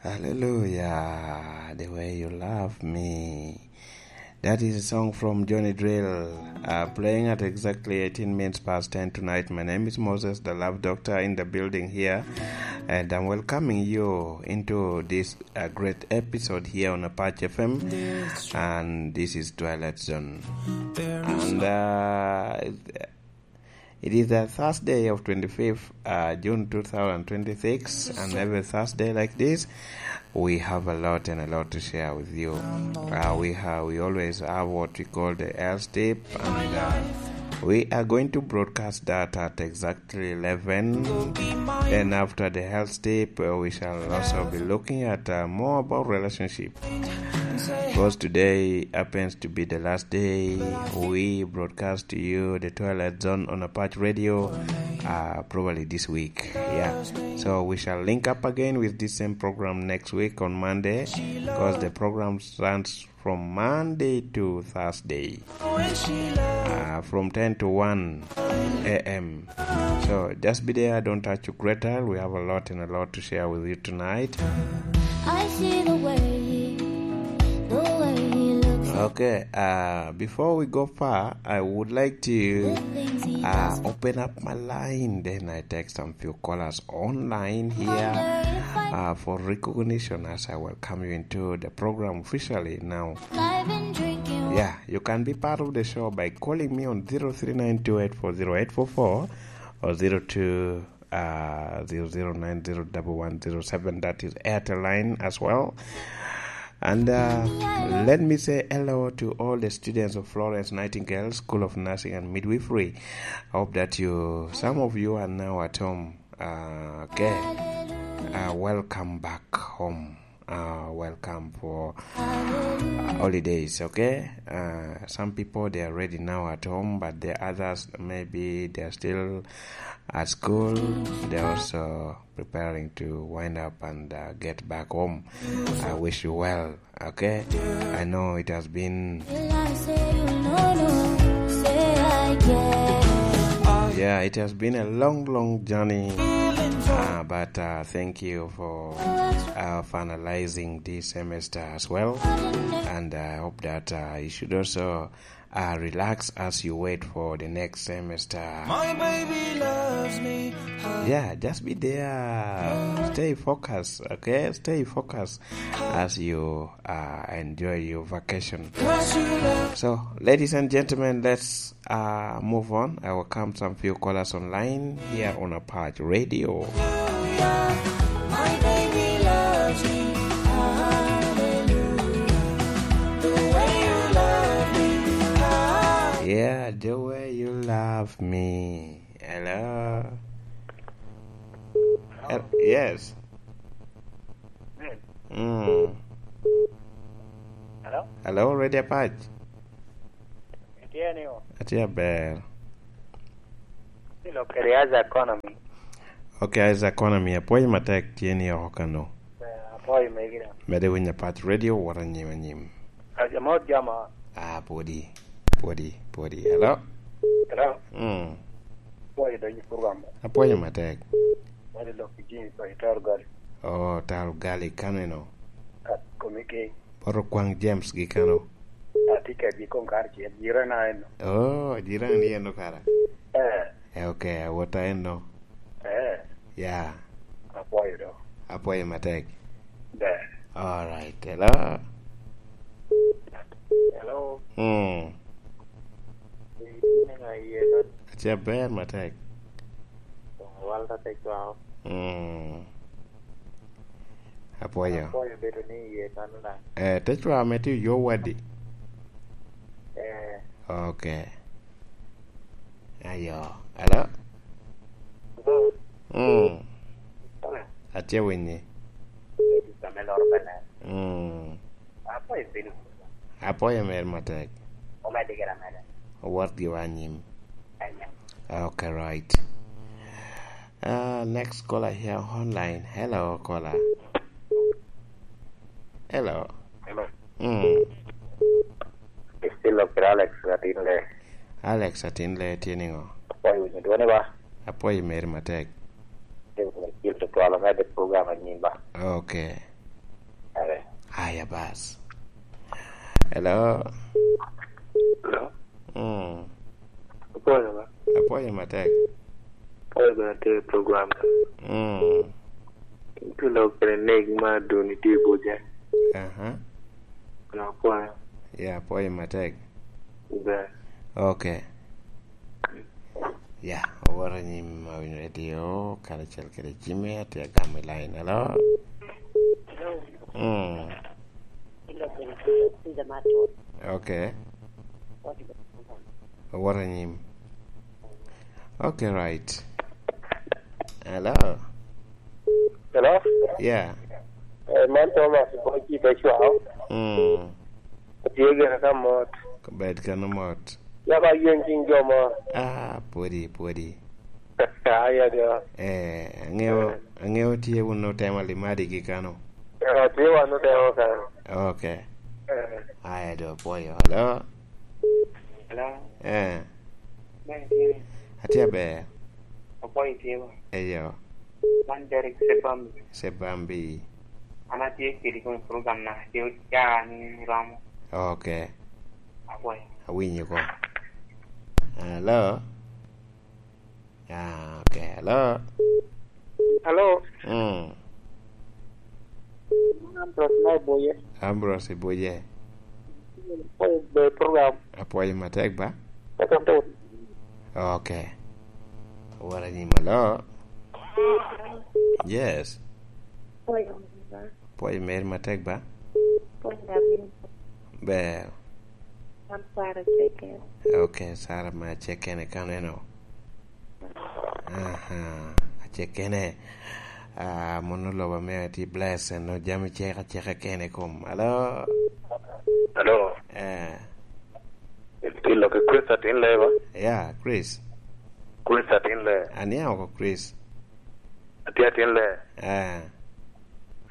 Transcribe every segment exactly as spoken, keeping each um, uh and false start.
Hallelujah, the way you love me. That is a song from Johnny Drill, uh, playing at exactly eighteen minutes past ten tonight. My name is Moses, the Love Doctor, in the building here, and I'm welcoming you into this, uh, great episode here on Apache F M. And this is Twilight Zone. And, uh, it is the Thursday of twenty-fifth, uh, June two thousand twenty-six, and every Thursday like this, we have a lot and a lot to share with you. Uh, we have, we always have what we call the health tip, and, uh, we are going to broadcast that at exactly eleven. Then after the health tip, uh, we shall also be looking at, uh, more about relationship. Because today happens to be the last day we broadcast to you the Twilight Zone on Apache Radio, uh, probably this week. Yeah. So we shall link up again with this same program next week on Monday, because the program runs from Monday to Thursday, uh, from ten to one a m. So just be there, don't touch your great dial. We have a lot and a lot to share with you tonight. I see the way, the way he looks. Okay, uh, before we go far, I would like to, uh, open up my line. Then I take some few callers online here, uh, for recognition as I welcome you into the program officially now. I've been drinking. Yeah, you can be part of the show by calling me on zero three nine two eight four zero eight four four or zero two, uh, zero zero nine zero double one zero seven. That is Airtel line as well. And, uh, let me say hello to all the students of Florence Nightingale School of Nursing and Midwifery. I hope that you, some of you are now at home. Uh, okay. Uh, welcome back home. Uh, welcome for, uh, holidays, okay? Uh, some people, they are ready now at home, but the others, maybe they are still at school. They are also preparing to wind up and, uh, get back home. I wish you well, okay? I know it has been, yeah, it has been a long, long journey, uh, but, uh, thank you for, uh, finalizing this semester as well, and I hope that, uh, you should also, uh, relax as you wait for the next semester. My baby loves me. Yeah, just be there. Stay focused, okay? Stay focused as you, uh, enjoy your vacation. So, ladies and gentlemen, let's, uh, move on. I welcome some few callers online here on Apache Radio. My baby loves me. Hallelujah. The way you love me. Ah. Yeah, the way you love me. Hello. Hel-, yes. Mm. Hello? Hello, Radio Apache. Itye ni o? Atye aber. Ilo kede as economy. Okay, as economy, apwoyo matek, tye ni oko kano. Eh, apwoyo megi da. Mede winyo Apache Radio, wot anyim anyim. Amot jama. Ah, pwodi, pwodi, pwodi. Hello? Hello? Mm. Apwoyo donyo i program. Apwoyo matek. Wadi lok i Jimmy pa i Taro Gali. Oh, Taro Gali, kaneno? Kat komiki. Poto kwaŋ James gi kano? Atye kedgi koŋ kare acel, jirana eno. Oh, jirani ni eno kara? Eh. Eh, okay, awota eno. Eh. Ya. Apwoyo do. Apwoyo matek. Ber. All right, hello. Hello. Mm. Itye niŋa iye kan? Atye aber matek. Walter Tecwao. Mm. Apwoyo. Apwoyo bedo ni iye kan na. Eh, Tecwao me tye yo wadi? Eh. Okay. Ayo. Hello? Hello? Mm. Hello? Atye winyi. Ame loro pene. Mm. Apwoyo piny. Apwoyo mer matek. Omedde gire ameda. Owot giwa anyim. Amen. Okay, right. Uh, next caller here online. Hello, caller. Hello. Hello. Mm. Still lok kede Alex Atinle. Alex Atinle, tye niŋo? Apwoyo winyo dwoni ba? Apwoyo meri matek. Still lok kede twal omedde program anyim ba? Okay. Aya bas. Hello? Hello? Mm. Apwoyo ba? Apwoyo matek. Apwoyo ba te program. Mm. Tulo kene nek ma duni tye i buce. Aha. Apwoyo. Ya, apwoyo matek. Ber. Okay. Ya, owoto anyim awinyo radio, karacel kede Jimmy, atye agamo i line. Hello? Mm. Okay. Owoto anyim. Okay, right. Hello? Hello? Yeah. Eh, man Thomas, Boki, Pecwao. Mm. Tye gire ka mot. Bed kano mot. Ya ba yen cing jo mo. Ah, pwodi, pwodi. Aya jo. Eh, angeo, angeo tye wun otemo limadi gi kano. Eh, tye wan otemo kano. Okay. Eh. Aya do, apwoyo. Hello? Hello? Eh. Ber, ber. Atye aber. Apwoyo tye ba? Eyo. Man Derek Sebambi. Sebambi. An atye kedi kong i program na, tye oca ni romo. Okay. Apwoyo. Awinyo ko. Hello? Ah, okay. Hello? Hello? Mm. Ambrose na Iboye. Ambrose Iboye. Apwoyo be program. Apwoyo matek ba? Eka mpot. Okay. Wara ni malo. Yes. Apwoyo meri matek ba? Ber. An Sara Ceken. Okay, Sara ma Ceken i kaneno. Aha, Cekene. Ah, mono lobo ame tye blessed, no jami cek aceka kene kom. Alo? Alo? Eh. Ilo ki Chris atin le ba? Ya, Chris. Chris atin le. Aniang oko Chris. Atye atin le. Eh.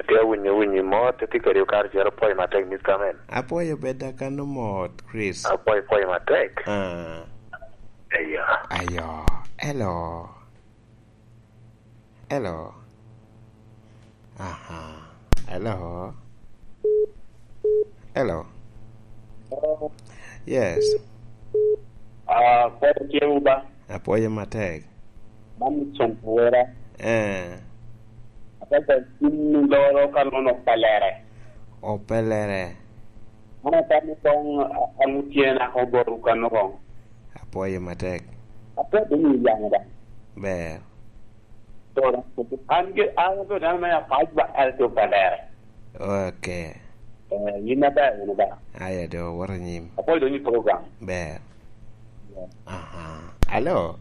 Atye awinyo winyi mot, atye kedi okaro cero pwoyo matek, Mister Man. Apwoyo bed akano mot, Chris. Apwoyo pwoyo matek. Ah. Eyo. Ayo. Hello. Hello. Aha. Hello. Hello. Yes. Ah, pwoyo tye wu ba? Apwoyo matek. Man Nixon Kawera. Eh. Apwoyo tin loro ka nono pelere. O pelere. An atamo kong, a-, an tye naka oboto kano kong. Apwoyo matek. Apwoyo ni yamo da. Ber. An ge, an abedo dano me apac ba, an ato pa lere. Okay. Eh, yin aber, yin aber. Aya do, woto anyim. Apwoyo dong i program. Ber. Yeah. Aha. Alo?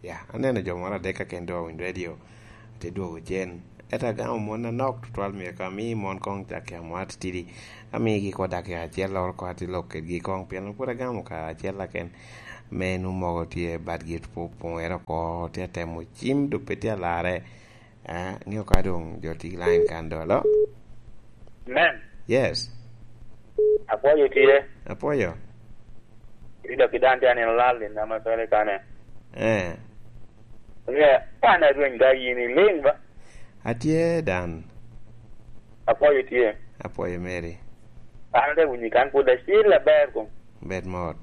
Ya, aneno jo moro adek kaken doŋ awinyo radio, ate dwogo cen. Ento agamo mon anok tutwal, myero ka ami mon koŋ dakika mo atitidi. Amigi ko dakika acel, loro ko ati lok kedgi koŋ, pien pwod agamo kare acel kaken. Me nwoŋo mogo tye badgi pu-, puŋere oko, tye atemo cim, dok pe tye alarre. Ah, ŋeo ka doŋ jo tye i line kan do. Alo? Men. Yes. Apwoyo tye. Apwoyo. Ida ki dan tye aneno lal i nama kale kane. Eh. Ŋe, kan arweny da yin iliŋ ba? Atye dan. Apwoyo tye. Apwoyo meri. An ate winyi kan pwod acil aber kom. Bed mot.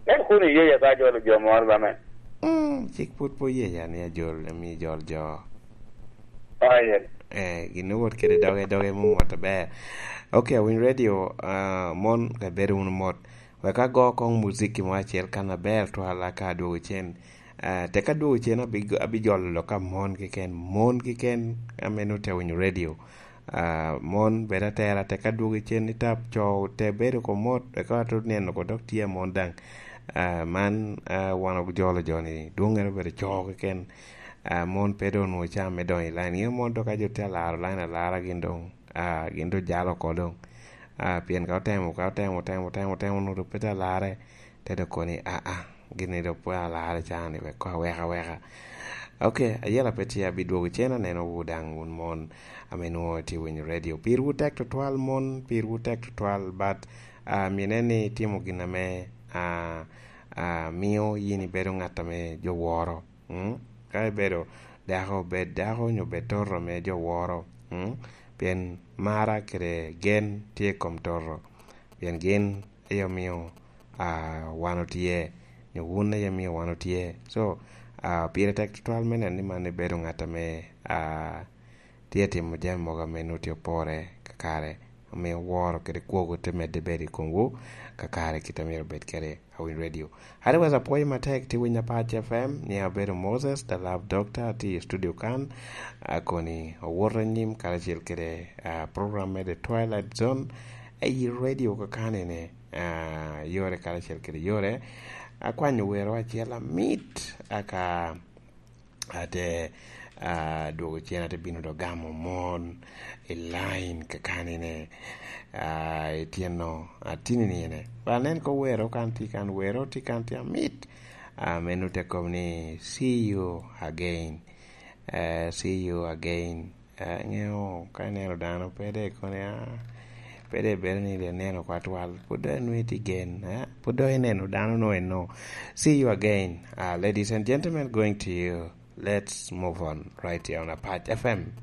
En kun iyeya ka ajolo jo moro ba men? Mm, cik pwod pe oyeya ni ajol, ami jol jo. Oh, yes. Eh, gin owot kede doge, doge mumot aber. Ok, awinyo radio, ah, mon ka ibedo wunu mot. Wek ago koŋ muziki mo acel kan aber twal aka adwogo cen. Ah, tek adwogo cen abi-, abijolo lok ka mon keken, mon keken ame nwoŋo te winyo radio. Ah, mon bed atera, tek adwogo cen i tap, co te bedo ko mot, eka ato neno ko dok tye mon daŋ. Ah, man, ah, wan ojolo joni, dwoŋŋere obedo co keken. Ah, mon pe doŋ onwoŋo caa me donyo i line. Ŋeo mon dok ka jo tye alaro line alara gin doŋ, ah, gin doŋ jalo oko doŋ. Ah, pien ka otemo, ka otemo, otemo, otemo, otemo, onwoŋo dok pe tye alarre, te dok koni, ah, ah, gin ni dok pe alarre caa ni wek ko aweka aweka. Ok, ayela pe tye abidwogo cen, aneno wu daŋ wun mon ame nwoŋo tye winyo radio. Pirwu tek tutwal mon, pirwu tek tutwal, but, ah, mine ni itimo gin ame, ah, ah, mio yin ibedo ŋat ame jo woro. Mm? Ka ibedo dako, bed dako onyo bed toto ame jo woro. Mm? pien mara kede gen tye i kom toto, pien gin aye omio, ah, wan otye, nyo wun aye omio wan otye. So, ah, pire tek tutwal me neno ni man ibedo ngat ame, ah, tye timo jami mogo ame nwoŋo tye opore kakare, omio woro kede kwogo te medde bedo i komwu kakare kit a myero obed kede Awiny Radio. Otherwise, apwoyo matek, tye winyo Apac F M, ni abedo Moses, the Love Doctor, atye i studio kan, akoni owoto anyim karacel kede, ah, program me The Twilight Zone, ayi radio kakani ni, ah, yore karacel kede yore. Akwanyo wero acel amit, aka ate, ah, dwogo cen, ate bino dok gamo mon i line kakani ni, ah, i tyeno, ah, tini ni ene. Ba nen ko wero kan tye kan, wero tye kan tye amit. Ah, meno te kobo ni, "See you again." Eh, "See you again." Eh, ŋeo ka ineno dano, pe de ikoni, ah, pe de bedo ni de ineno kwa twal. Pwod dong inwee tye gen, eh? Pwod dong ineno dano no eno. See you again. Ah, ladies and gentlemen, going to you. Let's move on right here on Apac F M.